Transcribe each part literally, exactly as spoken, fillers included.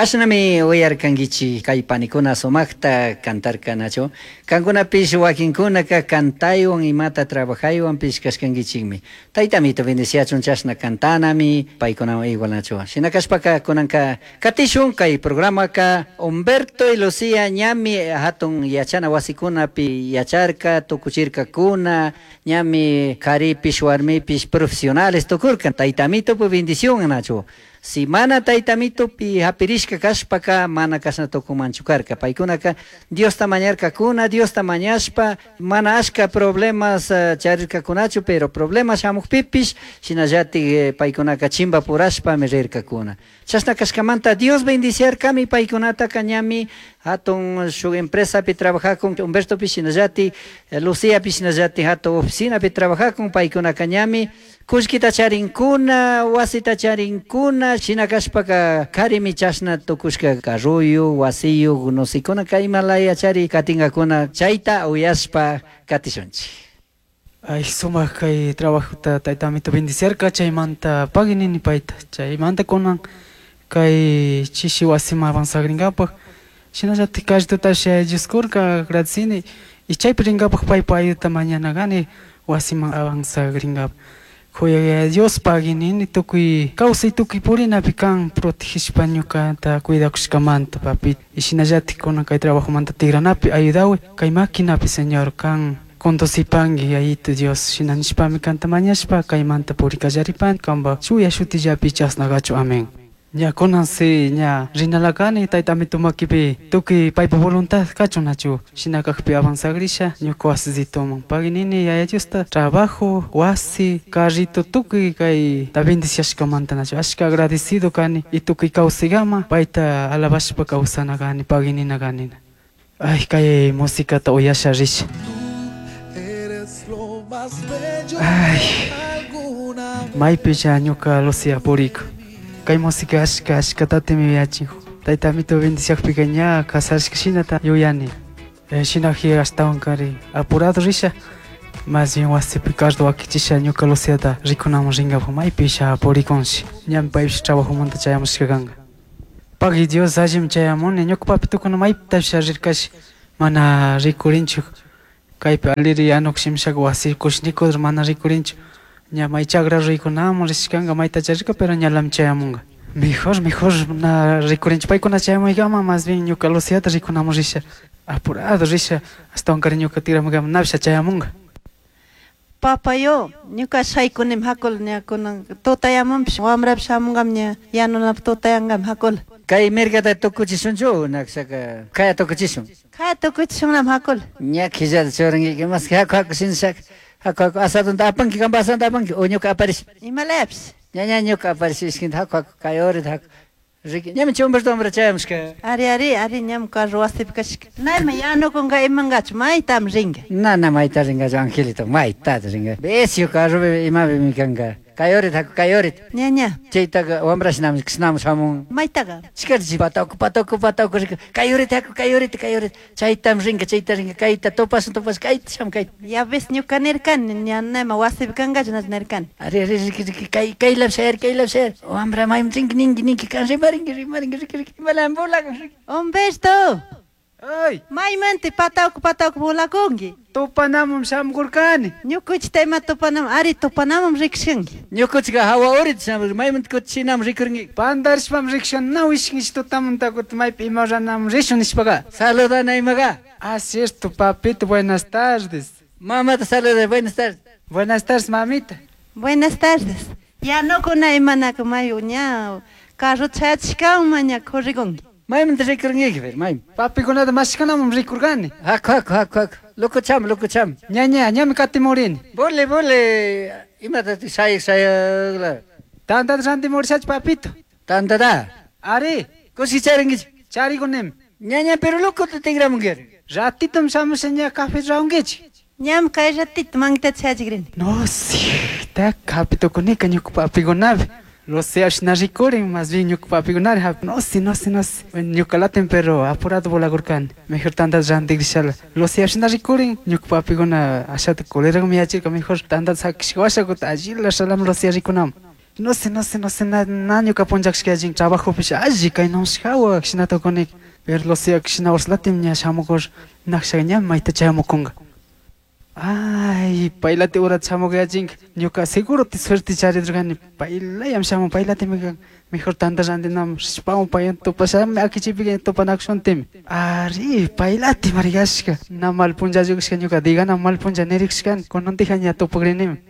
Kashnami uyarkankichik kay panikuna sumaqta kantarkanachu. Kankunapish wakinkunaka kantaywan imata trabajaywanpish kashkankichikmi. Taytamito bendiciachun chashna kantanami paykunawan igualnachu. Shina kashpaka kunanka katishun kay programaka Humberto y Lucía ñami hatun yachana wasikunapi yacharka tukuchirkakuna ñami karipish warmipish profesionales tukurka taytamitopu bendición nachu. Si mana taytamitopi hapirishka kashpaka mana kashna tukunmanchu karka paykunaka Diosta mañarkakuna Diosta mañashpa mana ashka problemas uh, charirkakunachu pero problemas shamukpipish shinallatik eh, paykunaka chimbapurashpami rirkakuna chashna kashkamanta Dios bendiciarkami paykunataka ñami hatun shuk empresapi trabajakun Humbertopish shinallatik eh, Luciapish shinallatik hatun oficinapi trabajakun paykunaka ñami kullkita charinkuna wasita charinkuna shina kashpaka karimi chashna tukushka carruyu wasiyuk nosikuna kay imalaya chari katingakuna chayta uyashpa katishunchik. Ay, sumaq kay trabajota taytamito bendiciarka chaymanta pagui nini payta chaymanta kunan kay chishi wasiman avanzagrinkapaq shinallatik carritutash Dioskurka agradecini y chaypi rinkapaq paypa ayudata mañana kani wasiman avanzagrinkapaq Kuyay Dios pagui nini tukuy kawsay tukuy purinapi kan protegishpa ñukata cuidakushkamanta papi y shinallatik kunan kay trabajomanta tigranapi ayudaway kay maquinapi Señor kan conducipanki yayito Dios shina nishpami kanta mañashpa kaymanta purikallaripani kanpa chuya shutillapi chasnakachu amén. Ña kunan si ña rinalakani taytamito makipi tukuy paypa voluntad kachun nachu shina kakpi avanzagrisha ñuka wasisitoman pagui nini yaya Diosta trabajo wasi carrito tukuy kay ta bendiciashkamanta nachu ashka agradecido kani y tukuy kawsaykama payta alabashpa kawsana kani pagui nina kanina. Ay kay musicata uyasha risha. Ay maypi ñuka Lucía puriku kay música ashka ashkatatimi yuyachin taytamito bendiciakpika ña kasarishka shinata yuyani eh, shinaji ashtawan kari apurado risha más bien wasipi carro wakichisha ñuka Luciata rikunaman rinkapak maypisha purikunshi ñami paypish trabajomanta chayamushka kanka pagui Dios allimi chayamuni ñuka papitukuna maypitapish rirkashi mana rikurinchu kaypi aliri yanukushimishaka wasi kushnikudur mana rikurinchu ña may chagra rikunamun rishkanka mayta charirka pero ñalami chayamunka mejor mejor na rikurinchu paykuna chayamuykama más bien ñuka Luciata rikunamun risha apurado risha ashtawankari ñuka tigramuykama napisha chayamunka. Papayo, ñuka shaykunim hakul ña kunan tutayamunpish wamrapish shamunkam ña yanunapaq tutayankam hakul. Kay mirgata tukuchishunchu nakshaka kaya tukuchishun. Kaya tukuchishunlam hakul. Ña killata churankiki mas haku haku shinashaka haku haku asadunta apanki kanpa asadunta apanki o ñuka aparish. Imalayapish. Ña ña ñuka aparish ishkinta haku haku kay urita haku. Riki ñami chay Humberto wambra chayamushka. Ari ari ari ñam carro wasipi kashka. Nayma yanukunka imankachu maytam rinka. Na na mayta rinkachu Angelito maytata rinka. Becio carropi imapimi kanka. Kay urita haku kay urita. Ña ña. Chaytaka wambrashinami kishnami shamun. Maytaka. Chikarchi pataku pataku pataku rinka. Kay urita haku kay urita kay urita. Chaytam rinka chayta rinka kayta tupasun tupasun kayta sham kayta. Ya ves ñuka nirkani ña nayma wasipi kankachu nachu nirkani. Ari ari riki riki kay kaylap shayar kaylap shayar. Wambra mayman rinki ninki ninki kan rimarinki rimarinki riki riki imalam volakun riki. Humberto. Ay. Maymanti patawku patawku volakunki. Tupanaman shamurkani. Ñukuchita ima tupanaman ari tupanaman rikshkanki. Ñukuchika hawa urita shamurka maymanta kutichinam rikurki. Pandarishpam rikshkan na wishkinchik tutamanta kutin maypi ima ruranaman rishun nishpaka. Saludana imaga. Ah, cierto, papito, buenas tardes. Mamata saluda, buenas tardes. Buenas tardes, mamita. Buenas tardes. Yanukuna imanaka mayu ña carro chayachishkanman ña corrikunki. Maymanta rikurnkiki pero mayman. Papikunata mashkanaman rikurkani. Haku haku haku haku. Loco cham, loco cham. Ña ña ñami katimurini. Bole bole imata shayak shayakla. Tantata rantimurishachu papito. Tantata. Ari. Kushi charinkichu. Charikunimi. Ña ña pero locota tigramunki. Ratitom shamusha ña café raunkichik. Ñam kay ratito mankitata shayachikrini. No, sí, ta kapitukunika ñuka papikunapi. Lo sé, na rikurin, más bien ñuka papikunari hap. No sé, no sé, no sé. Bueno, ñuka latin pero apurado volakurkani. Mejor tantata rantikrishalla. Lo sé, na rikurin, ñuka papikuna ashata coleragmi yachirka mejor tantata sakishka washa kutin allila shalam Lucía rikunaman. No sé, no sé, no sé, na, na ñuka punllakshka trabajopish alli kaynamushkawa shina tukuni. Pero Lucía shina urslatim ña shamukur naksha ña mayta chayamukunka. Ay, paylati urat shamukayachinka. Ñuka seguro ti suerte charidurkani. Paylayam shamun, paylatimi mejor tanta rantinam rishpawan paywan tupashami akichipika tupanakushuntimi. Ari, paylati marigashka. Na mal punllallukushka ñuka digana mal punlla nirikushkani. Kunantija ña tupakrinimi.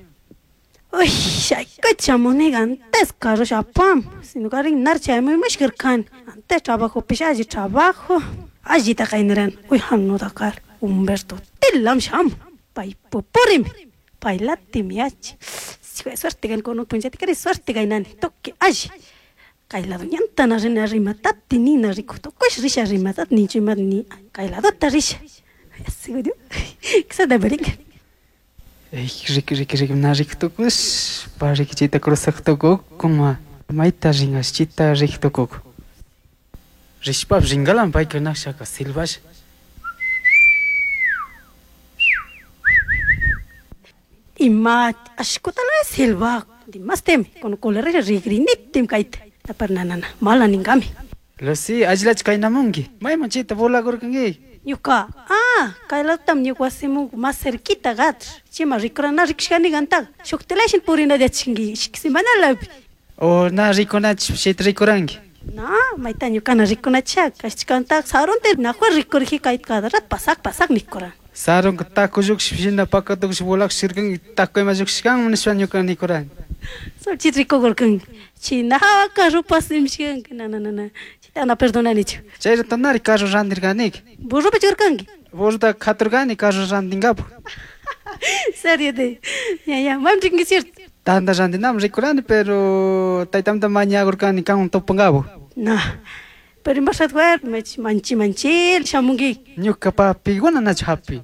Uy, shaykuch shamuniga antes carro shapam. Sino karin nar chaymuymushkarkani. Antes trabajo pish alli trabajo. Allita kayniran. Uy, hanudakar. Humberto tillam sham. Pay pupurimi. Paylatimi yachi. Suerte kan kono punllati kari suerte kaynani. Toque alli. Kaylado ñantana rina rimatati nina rikutukush risha rimatati nichumat ni kayladota risha. Seguro. Ksa da beringa. Ey, riki riki riki na rikutukush, pa rikichita cruzaktukuk kuma mayta ringaschita rikutukuk. Rishpap ringalan payka nakshaka silbash. Ima ashkutala silba, dimastem con colere rigrinitim kayta. Tapar nanana, mala ningami. Lucy, allilach kaynamunki. Mayman chayta volakurkanki. Ñuka, ah, kaylatam ñuka wasimun más cerquita gatr. Chima rikurana rikushkani kantaqa. Shuktilashin purina yachanki ishki semanalapi. O na rikunach chayta rikuranki. Na, mayta ñukana rikunachak. Kashkantaqa sarunta nahua rikurji kayta cada rato pasak pasak nikuran. Sarunka taco lluqship shina pakatukush volakushirkanki taco ima lluqshishkanman nishpa ñuka nikurani. Sol chit rikukurkanki. China hawa carro pasimshkanki. Na na na na. Chita na perdonanichu. Chayrato nari carro rantirkanika. Burrupi churkanki. Burruta katurkani carro rantinkapak. Serio de. Ya ya, maymi rikunki cierto. Tanta rantinami rikurani pero taytamta mañakurkani kanwan tupankapak. Na. Pero imashat manchi manchi manchil shamunki. Ñuka papikuna nachu hapi.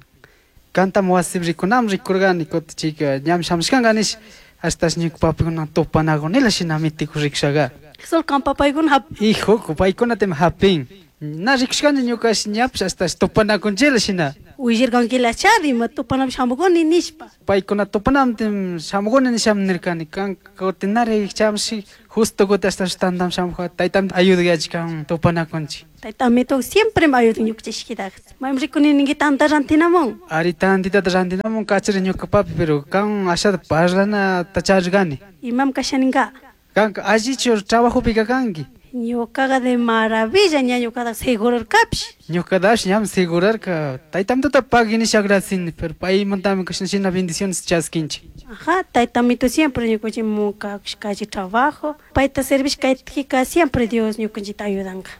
Kantam wasipi rikunami rikurkani kutin chayka ñami shamushkanka nish hasta ñuka papikuna tupanakunila shina mitiku rikushaga. Sol kan papaykuna hap. Hijo, paykunatimi hapin. Na rikushkani ñukash ñapish hasta tupanakunchila shina. Willarkankilachari ima tupanami shamukuni nishpa. Paykuna tupanamtin shamukuni nishami nirkani. Kan kutin nari chamushi justo kutin hasta tantam shamuka taytam ayudayachik kan tupanakunchik. Taytamito siempre me ayudan ñukanchiktaqa. Maymi rikuni ninki tanta rantinamun. Ari tantitata rantinamun kachari ñuka papi pero kan ashata parlanata charirkani. Imam kashaninka. Kanka allichu trabajopika kanki. Ñukaqa de maravilla ña ñukaqa segurarkapish. Ñukadash ñam segurarka. Taytamtuta pagui nisha agradecini, pero paymantami kashna shina bendiciones chaskinchik. Ajá, taytamito siempre ñukanchik kachi trabajo. Payta servish kaytijika siempre Dios ñukanchikta ayudanka.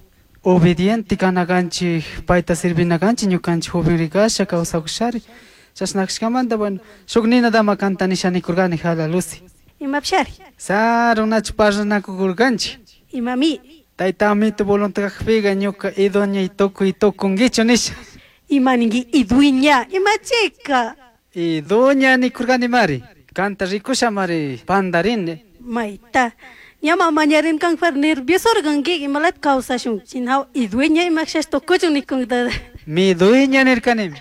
Obediente kanakanchik, payta servinakanchik ñukanchik joven rikasha kawsakushari. Chashnakashkamanta bueno, shuk ninatama kanta nisha nikurkani jala Lucy. Imapishari. Sarunachu parlanakukurkanchik. Imami. Taytamito voluntad kakpiga ñuka iduña y tukuy tukunkichu nisha. Ima ninki iduña, imachika. Iduña nikurkani mari. Kanta rikusha mari pandarini. Mayta. Ñama mañarin kanfar nervioso organki imalat kawsashun. Chinhaw iduña imakshash tukuchun nikunta. Mi dueña nirkanimi.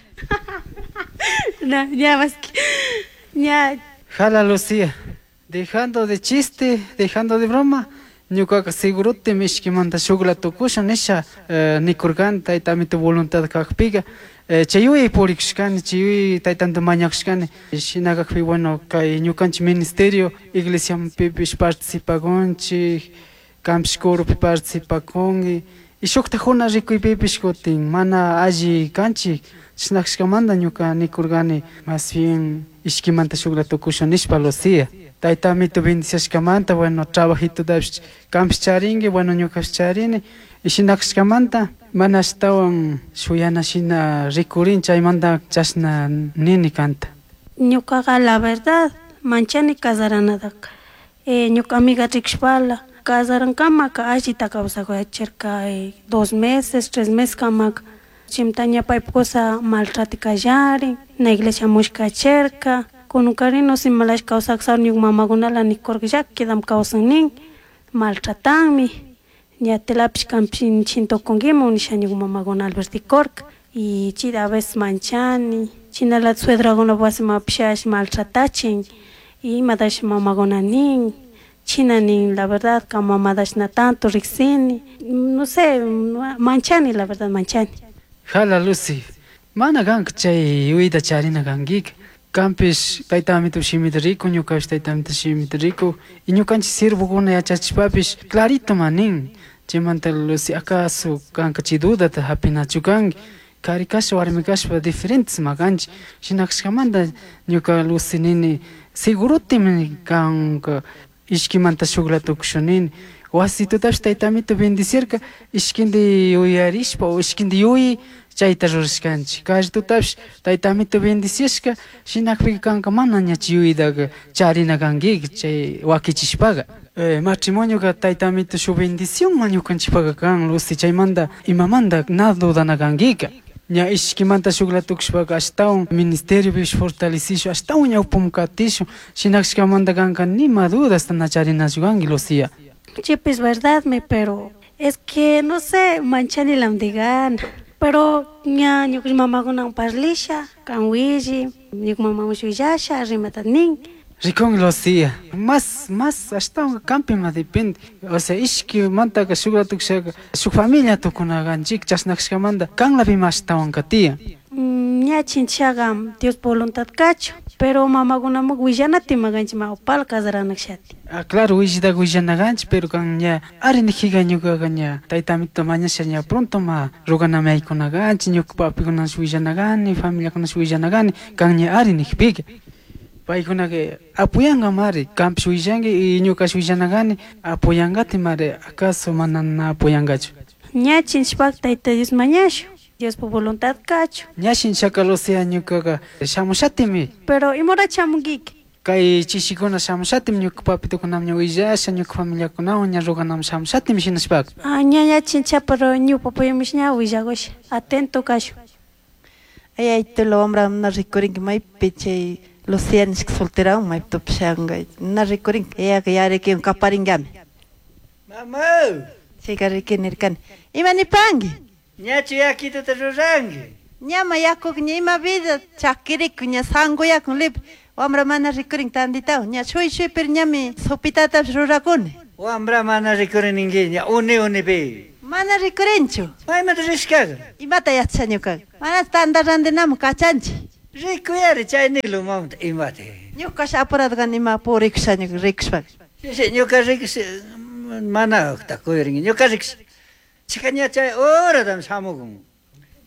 Na, ña más que ña. Jala Lucía, dejando de chiste, dejando de broma. Ñukaqa segurote mishkimanta shukla tukusha nisha eh, nikurkani taytamito voluntad kakpiga eh, chayuy purikushkani chayuy taytamta mañakushkani shina kakpi bueno kay ñukanchik ministerio iglesiapipish participakunchik kanpish coropi participakunki y shuktajuna rikuypipish kutin mana alli kanchik chishnakashkamanta ñuka nikurkani más bien ishkimanta shukla tukusha nishpa Lucía. Taytamito bendiciashkamanta bueno trabajitotapish kanpish charinki bueno ñukapish charini y shinakashkamanta mana ashtawan shuyana shina rikurin chaymanta chashna nini kanta. Ñukaqa la verdad manchani casaranataka. Eh, ñuka amiga rikushpala casarankamaka allita kawsakuyachirka eh, dos meses, tres meses kamaka. Chimta ña paypa kusa maltrati kallarin, na iglesia mushkachirka. Kununkari no simalash kawsak ñuka mamakunala nikurka llakidam kawsan nin maltratanmi ña telapish kanpish chintukunkiman nisha ñuka mamakuna albertikurka y chita a veces manchani chinalatik suedrakunapuk wasimanpish maltratachin y imatashi mamakuna nin China nin la verdad ka mamadashna tanto riksini. No sé, manchani la verdad manchani. Jala Lucy, mana kanka chay yuyayta charina kankika. Kanpish tayta amito shimita riku, ñukapish tayta amito shimita riku. Y ñukanchik siervokuna yachachishpapish clarito ma nin. Chaymanta Lucy acaso kanka chay dudata hapinachu kanki. Kari kashpa warmi kashpa diferentes ma kanchik. Shina kashkamanta ñuka Lucy nini segurotimi kanka ishkimanta shukla tukushun nini. Wasitutapish tayta amito bendecirka ishkindi yuyarishpa o ishkindi yuyi chayta rurashkanchik. Kallitutapish tayta amito bendecishka shinakpika kanka mana ña chay yuyaytaka charina kankika chay wakichishpaka. Eh, matrimonioka tayta amito shuk bendición ma ñukanchikpaka kan Lucy, chaymanta imamanta na dudana kankika. Ña ishkimanta shukla tukushpaka ashtawan ministeriopish fortalecishun, ashtawan ñawpaman katishun, shinakashkamanta kanka nima dudasta na charinachu kanki Lucía. Chipis verdadmi, pero es que no sé, manchani lamdigana. Pero ña ñuka mamakunawan parlisha, kan willi, ñuka mamawan willasha, rimata nin. Rikun Lucía, más, más ashtawan kanpima depende. O sea, ishkimantaka shukla tukushaka, shuk familia tukunakanchik, chashnakashkamanta kanlapima ashtawanka tiyan. Ña chinchaga Dios voluntad kachu, pero mamakunaman willanati maganchik ma upal casaranakshati. Ah, claro, willitaqa willanakanchik, pero kan ña ari nijika ñukaqa ña tayta amito mañasha ña pronto ma ruganami aykunakanchik, ñuka papikunash willanakani, familiakunash willanakani, kan ña ari nijpika. Paykunaka apoyanka mari, kanpish willanki y ñukash willanakani, apoyankati mari, acaso mana na apoyankachu. Ña chinchpak tayta Dios mañashu, Diospa voluntad kachu. Ña shinchaka Lucía ñukaqa shamushatimi. Pero imora chamunkiki? Kay chishikuna shamushatimi ñuka papitukunaman ña willasha, ñuka familiakunawan ña ruganaman shamushatimi shinashpaka. Ah, ña ña chincha, pero ñuka papayumish ña willagusha, atento kashu. Ay, ay, tulo wambra mana rikurinki maypi chay Lucía nishka solterawan maypi tupishanka, na rikurinki, yayaka yarikiwan kaparinkami. Mama! Chayka riki nirkani. Ima nipanki? Ñachu yakituta ruranki? Ñama yakuka ña ima vida chakiriku ña sankuyakun libre. Wambra mana rikurin tanditawan, ña shuy shuy pero ñami sopitatapish rurakuni. Wambra mana rikurininki, ña uni unipi. Mana rikurinchu. Maymanta rishkaka? Imata yachasha ñukaqa. Mana tanta randinaman kachanchik. Rikuyari chay niklu mamata imata. Ñukash apurado kani ima purikusha ñuka rikushpaka. Sí, sí, ñuka rikush mana kuyrinki, ñuka rikush. Chika ña chay horatam shamukun.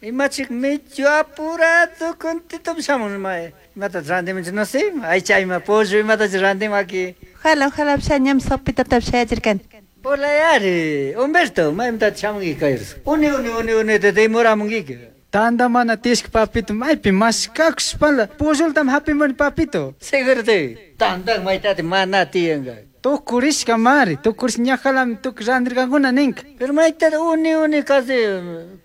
Imachik medio apurado contitom shamun ma imata randimunchik no sé, aycha ima pollo imata randimun aquí. Ojalá, ojalá ñam sopitatapish shayachirkani. Polayari, Humberto, maymanta shamunki kayris. Uni uni uni uni te demoramunkiki. Tanta mana tiyashka papito, maypi mashkakushpala, polloltami hapimuni papito. Seguro te, tanta maytati mana tiyanka. Tukurishka mari, tukurishka ñajalami tukuy randirkankuna ninka. Pero maytata uni uni casi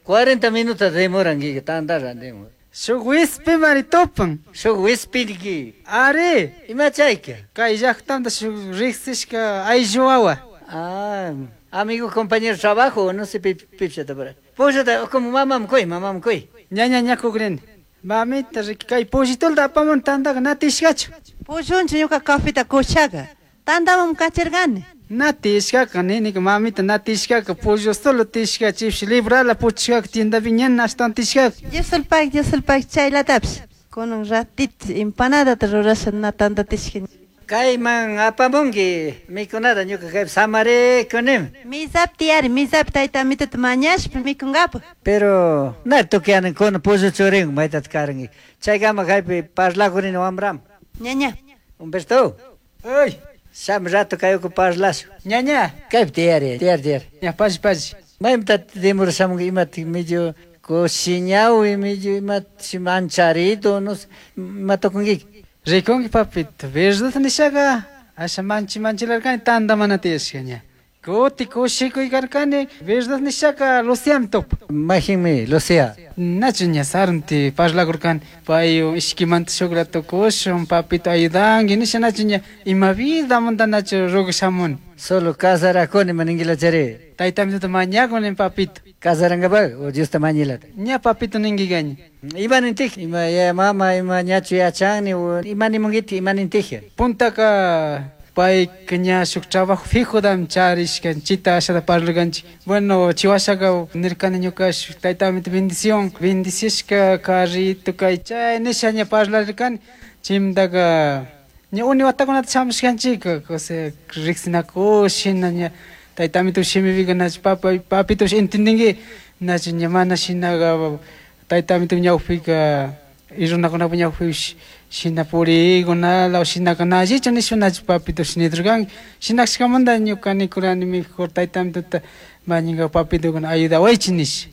cuarenta minutos demoranki tanta randimun. Shuk wispi mari tupan. Shuk wispinki. Ari. Ima chayka? Kay llaqtamanta shuk riqsishka ayllu wawa. Ah, amigo, compañero de trabajo, no sé, pipchata por ahí. Pollota, como mamam kuy, mamam kuy. Ña, ña, ña kukrini. Mamita, riki, kay pollitulta apamun tantaka na tishkachu. Pollunchu ñuka cafeta kushaka. Tantamam kachirkani. Na tishkaka, ninika mamita, na tishkaka, pollo solo tishka, chipshi librala puchkaka, tiendapi ña ashtawan tishkaka. Diosulpak, Diosulpak, chaylatapish. Kunan ratito empanadata rurasha na tanta tishka. Kayman apamunki mikunata ñuka kaypi samarikunim. Misapi tiyari, misapi tayta amitota mañashpa mikunkapak. Pero na tukuyanin kuna pollo churin maytata karanki. Chaykama kaypi parlakurini wambram. Ñaña. Humberto. Ay. Sham rato kayuku parlashu. Ñaña. Kaypi tiyari, tiyari, tiyari. Ña, pashi, pashi. Maymanta demorashamunki imata medio kushiñawi, medio imata mancharito, no sé, ima tukunkiki. Rikunki papito, verdad nishaka, asha manchi manchilarkani tanta mana tiyashka ña. Kuti kushikuykarkani, verdad nishaka Luciami tupa. Majinmi, Lucía. Nachu ña sarunti parlakurkani, pay ishkimanta shukla tukushun, papito ayudanki, nisha nachu ña ima vidamanta nachu rugashamuni. Solo casarakuni maninquilachari. Tayta amituta mañakuni papito. Casarankapaq o Diosta mañilata. Ña papito ninkigaña. Ima nintij, ima ya mama, ima ñachu yachani, o ima nimunkiti, ima nintij. Puntaka Payka ña shuk trabajo fijodami charishka chita ashata parlarkanchik. Bueno, chiwashaka nirkani ñuka shuk taytamito bendición, bendiciashka carrito kay chay nisha ña parlarirkani. Chaymantaka ña uni watakunata shamushkanchik, o sea, riksinakush shina ña taytamito shimipika nachu papa papitosh entendinki nachu ña mana shinaka taytamito ñawpika y runakunapak ñawpipish shina purikunala o shinaka na allichu nishpa nachu papitosh nidurkanki. Shinakashkamanta ñuka nikurani mejor taytamitota mañanka papitokuna ayudawaychik nish.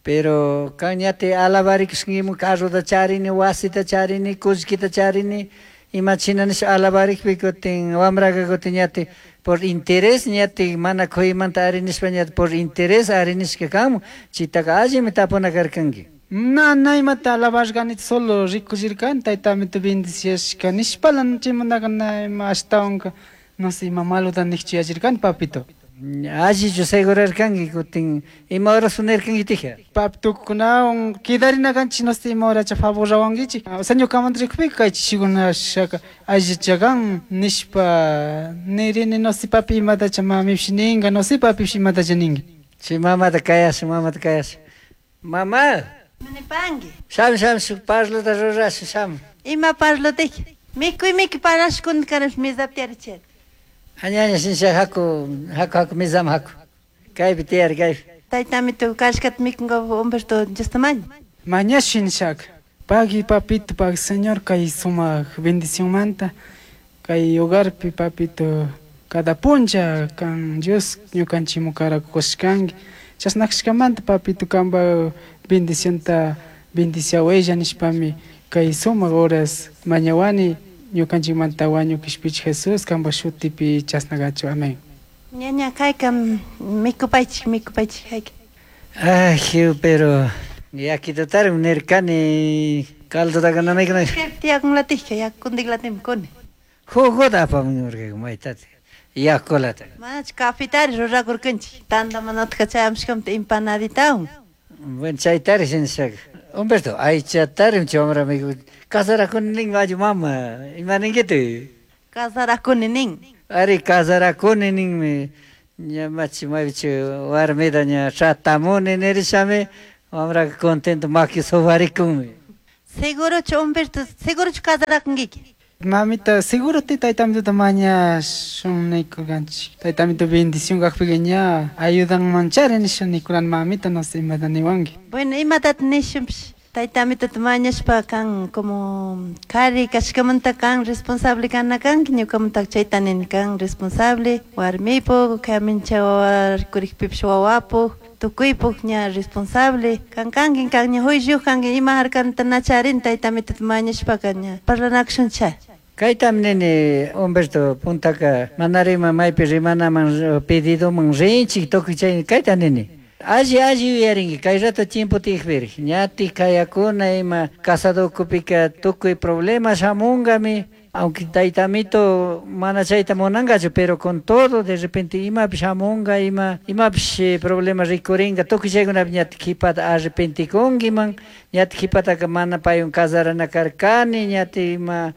Pero kan ñati alabarikushkankimun carrota charini, wasita charini, kullkita charini, ima china nisha alabarikpi kutin wambraka kutin ñati por interés ñati mana kuymanta ari nishpa ñati por interés ari nishka kanmun, chitaka allimi tapuna karkanki. Na, na imata alabarkani solo rikuchirkani taytamito bendiciashka nishpala chaymantaka na ima ashtawanka no sé ima malota nikchu yachirkani papito. Allichu segurarkanki kutin ima horas nirkankitikja? Papitokunawan quedarina kanchik no sé ima horacha favor rawankichik. O sea ñukamanta rikupika kay chishikuna shaka allichakan nishpa nirini no sé papi imatacha mamipish ninka no sé papipish imatacha ninki. Chay mamata kayash, mamata kayash. Mama! Nipanki. Sham, sham, shuk parlota rurash, sham. Ima parlotiki? Mikuy mikuy parashkuna karash mesapi tiyarichir. Aña, aña, shinsha, haku, haku, haku, mesama haku. Kaypi tiyari, kaypi. Taytamito kashkata mikunka Humberto Diosta maña. Mañash shinshaka. Pagui papito, pagui señor kay sumak bendicionmanta kay hogarpi papito cada puncha kan Dios ñukanchikmun karakushkanki. Chashnakashkamanta papito kanpak bendicionta bendiciawaylla nishpami kay sumak horas mañawani ñukanchikmanta wañukishpichik Jesús kanpak shutipi chashna kachu. Amén. Ñaña kayka mikupaychik, mikupaychik hayka. Ay, pero yakitutarim nirkani caldotaka nanaykunaka. Tiyakunlatikka yakuntiklatimi kuni. Jugota apamunurka maytati yakulata. Manachu cafetari rurakurkanchik tanta mana utka chayamushkamanta empanaditawan. Bueno, chaytari shinashaka. Humberto, aychatarim chay wambra miku casarakuni nin ayu mama, ima ninkiti? Casarakuni nin. Ari casarakuni ninmi, ña machi maypichu warmita ña tratamuni nirishami, wambraka contento maki sufarikunmi. Segurochu Humberto, segurochu casarakunkiki? Mamita, seguro ti taytamituta mañashun nikurkanchik. Taytamito bendición kakpika ña ayudanmanchari nisha nikurani mamita, no sé imata niwanki. Bueno, imatata nishunpish taytamitota mañashpa kan como kari kashkamanta kan responsable kana kanki, ñukamantaka chayta nini kan responsable warmipuk, kaymincha wawa rikurikpipish wawapuk, tukuypuk ña responsable kan kanki, kan ña juicio kanki ima harkanta na charin taytamitota mañashpaka ña parlanakushuncha. Kaytami nini Humberto puntaka manarima maypi rimanaman pedidoman rinchik tukuy chay kayta nini. Alli alli yuyarinki kay rato tiempo tiyakpirik ñatik kayakuna ima casado ukupika tukuy problema shamunkami, aunque taytamito mana chayta munankachu, pero con todo de repente imapish shamunka, ima imapish problema rikurinka, tukuy chaykunapi ñatik kipata arrepentikunkiman, ñatik kipataka mana paywan casarana karkani, ñatik ima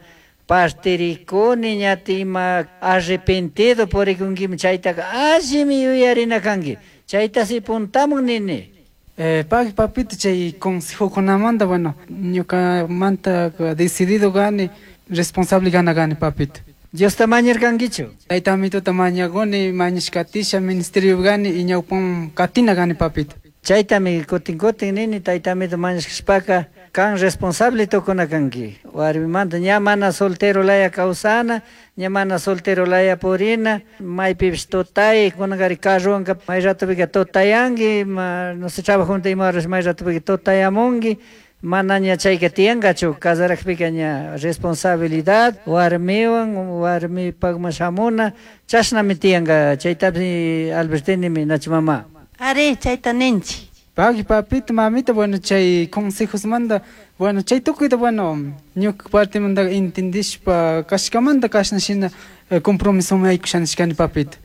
partirikuni, ñatik ima arrepentido purikunkiman, chaytaka allimi yuyarina kanki. Chayta si puntamun nini. Eh, pagui papito chay consejokunamanta, bueno, ñukamanta decidido gani, responsable gana gani papito. Diosta mañarkankichu? Taytamitota mañaguni, mañashkatisha ministerio gani y ñawpan katina gani papito. Chaytami kutin kutin nini taytamito mañashkashpaka kan responsable tukuna kanki. Warmimanta ña mana soltero laya kawsana, ña mana soltero laya purina, maypipish tutay, kunakari carrowanka may ratopika tutayanki, ma, no sé, trabajunta ima horas may ratopika tutayamunki, mana ña chayka tiyankachu, casarakpika ña responsabilidad, warmiwan, warmipakman shamuna, chashnami tiyanka, chaytapi Albertinimi nachu mama. Ari, chayta ninchik. Pagui papito, mamita, bueno, chay consejosmanta, bueno, chay tukuyta, bueno, ñuka partimanta entendishpa kashkamanta kashna shina, eh, compromisoman haykusha nishkani papito.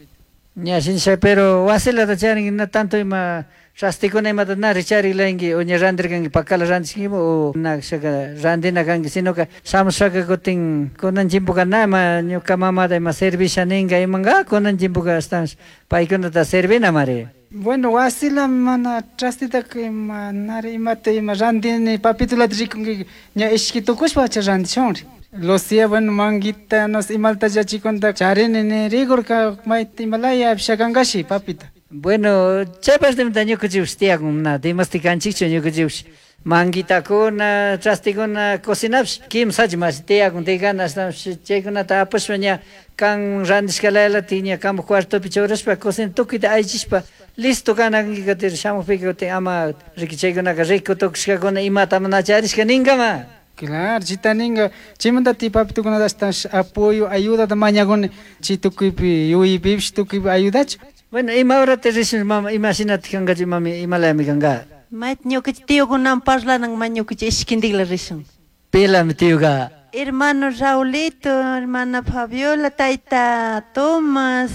Ña shinsha, pero wasilata charin, na tanto ima Trastikuna imata na richarilanki o ña randirkanki pakala randishkanki o na shaka randina kanki sinoka shamushaka kutin kunan chimpuka na ima ñuka mamata ima servisha ninka imanka kunan chimpuka ashtawanshi paykunata servina mari. Bueno, wasila mana trastitaka ima nari imata ima randini papitulata rikunki ña ishki tukushpa cha randishunri. Lucía, bueno, manguita, no sé, imalta llachikunta charini ni rigurka mayta imalaya pishakankashi papita. Bueno, chay partemanta ñukanchikpish tiyakun na dimasti kanchikchu ñukanchikpish manguitakuna, trastikuna cocinapish kimsachi mashi tiyakun tigana ashtawanpish chaykunata apashpa ña kan randishkalayalatik ña kanpak cuartopi churashpa cocina tukuyta allichishpa listo kana kanki kutin shamukpika kutin ama riki chaykunaka rico tukushkakuna imata mana charishka ninkama. Claro, chita ninka chaymanta ti papitukunata ashtawanshi apoyo, ayudata mañakuni chay tukuypi yuyaypipish tukuypi ayudachu. Bueno, ima horata rishun mama, ima shinatik kankachu mami, imalayami kanka? Mayta ñukanchik tiokunawan parlanan ma ñukanchik ishkintikla rishun. Pilami tioka? Hermano Raulito, hermana Fabiola, tayta Tomas,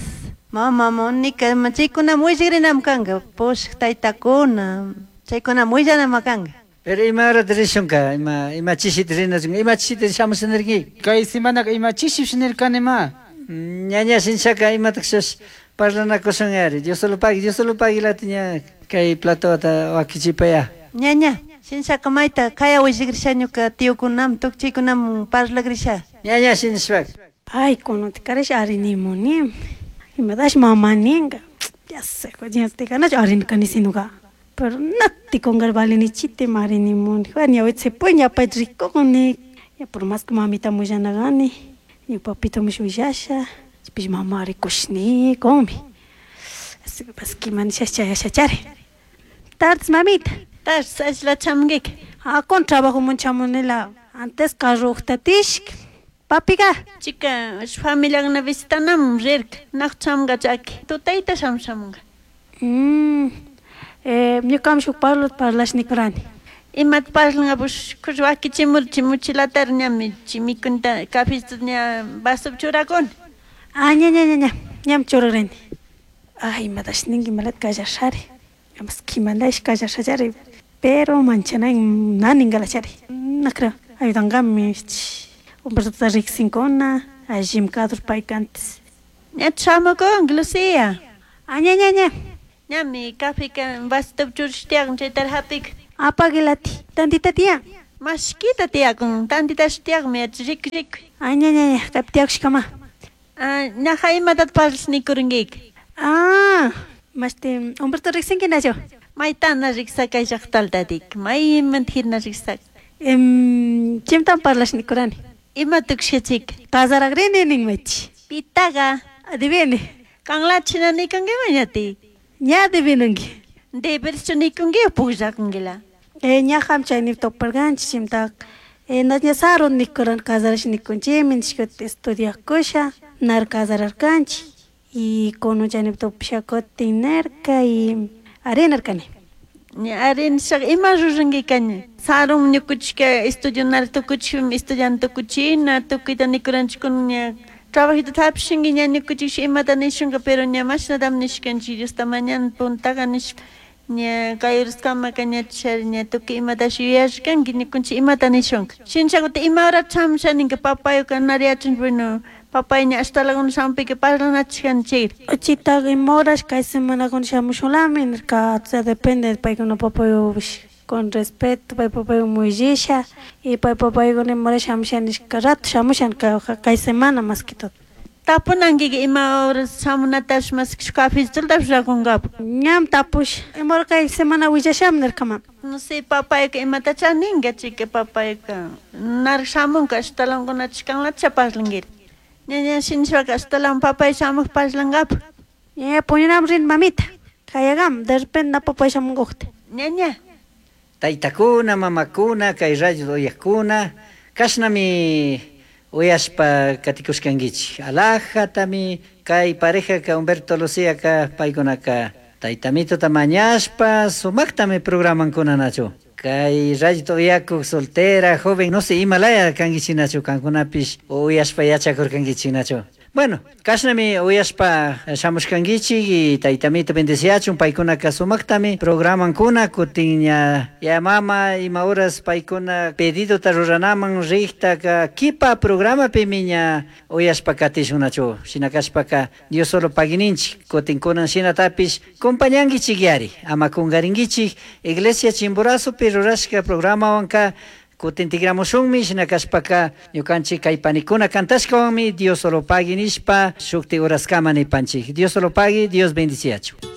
mama Monica, ima chaykunami willakrinami kanka, pushak taytakuna, chaykunami willanami kanka. Pero ima horata rishunka, ima, ima chishita rinachunka, ima chishita shamusha nirki? Kay semanaka ima chishipish nirkanima. Ñaña shinshaka imatakshas parlanakushun ari, Dios solo pagui, Dios solo pagui lati ña kay platota wakichipaya. Ñaña, shinshaka mayta kaya willakrisha ñuka tiokunam, tukchaykunam parlakrisha. Ñaña shinshpak. Ay, kunanti karash arinimuni. Imatash mama ninka. Ya sé, ña tikanachu arinakani sinuka. Pero nati kungar valinichiti marinimuni. Bueno, ña se ña pay rikukuni. Ya por más que mamita willanakani, ña papito mish willasha, chaypish mama rikushnikunmi. Así que pues kimanisha chayashachari. Tardes, mamita. Tardes, ashla chamkik. Ah, con trabajo munchamunila. Antes carro tishk. Papiga. Chica, familia visitanam rirka. Nak chamga chaki. Tutayta shamshamunga. Mm. Eh, ñukam shuk parlo parlashnikurani. Imat parlanga bush kushwaki chimur chimuchilatar ñami chimikunta café ña vaso churakun. Ah, ña ña ña ña. Ñam churarani. Ay, imatash ninki imalat kallashari. Amas kimandash kallashachari. Pero manchana na ningalachari. No creo. Ayudangami. Humberto riksinkuna, allim kadur payka antes. Ña chamukun, Lucía. Ah, ña ña ña. Ñami café ka vaso churashtiakun chaytar hapik. Apagilati. Tantita tía. Mashkita tiyakun, tantitash tiyakmi rik rik. Ah, ña ña ña, kaypi tiyakushkama. Ah, ñaja imatat parlashnikurnkik. Ah, mashti Humberto riksinki nachu. Maytana riksakay llaqtaltatik, maymanta hirna riksak. Em, chimtan parlashnikurani. Ima tukshachik. Casarakrini ninmachi. Pitaga. Adivine. Kanlachina nikunkiman ñatik. Ña adivinanki. Deberes nikunki o pukllakunkila. Eh, ñajam chayni toparganchik chimtak. Eh, na ña sarun nikuran casarash nikunchikmi nishka estudiakusha, nar casararkanchik. Y kunan chayni topasha kutin nirka y arinarkani. Ña arinishaka ima ruranki ña. Sarun ñukuchika estudio nar tukuchikmi estudiante tukuchina, tukuyta nikuranchik ña trabajito hapishinki ña ñukuchik imata nishunka pero ña mashnatami nishkanchik Diosta mañana puntaka nishpa ña kay uraskamaka ña chari ña tukuy imatash yuyashkanki ñukunchik imata nishunka. Shinchakuta ima hora chamusha ninka papayuka nari yachanchik bueno papay ña ashtalakuna shampika parlanachikani chayri. Chitaka ima horas kay semanakuna shamushunlami nirka, o sea, depende paykuna papayupish con respeto pay papaywan willisha y pay papaykuna ima hora shamusha nishka rato shamusha kay semana más que todo. Tapunankika ima horas shamunatash mas shuk cafecitotapish rakunkapak. Ñam tapush, ima hora kay semana willashami nirkama. No sé, papayka imatacha ninka chika papayka narik shamunka ashtalankunacha kanlacha parlankiri. Ña ña shinashpaka ashtalan papay shamuk parlankapak. Ña puñunam rin mamita, kayagam, de repente na papay shamunkukta. Ña ña. Taytakuna, mamakuna, kay radio uyakuna, kashnami uyashpa katikushkankichik. Alajatami kay parejaka Humberto Lucíaka paykunaka taytamitota mañashpa sumaktami programankuna nachu. Kay radio uyakuk soltera, joven, no sé, imalaya kankichik nachu, kankunapish uyashpa yachakurkankichik nachu. Bueno, kashnami uyashpa shamushkankichik y taytamito bendeciachun paykunaka sumaktami programankuna kutin ña ya mama ima horas paykuna pedidota ruranaman riktaka kipa programapimi ña uyashpa katishunachu shina kashpaka Dios solo paguininchik kutin kunan shinatapish compañankichik yari ama kungarinkichik Iglesia Chimborazopi rurashka programawanka kutin tigramushunmi shina kashpaka ñukanchik kay panikuna kantashkawanmi Dios solo pagui nishpa shukti uraskama nipanchik Dios solo pagui Dios bendiciachu.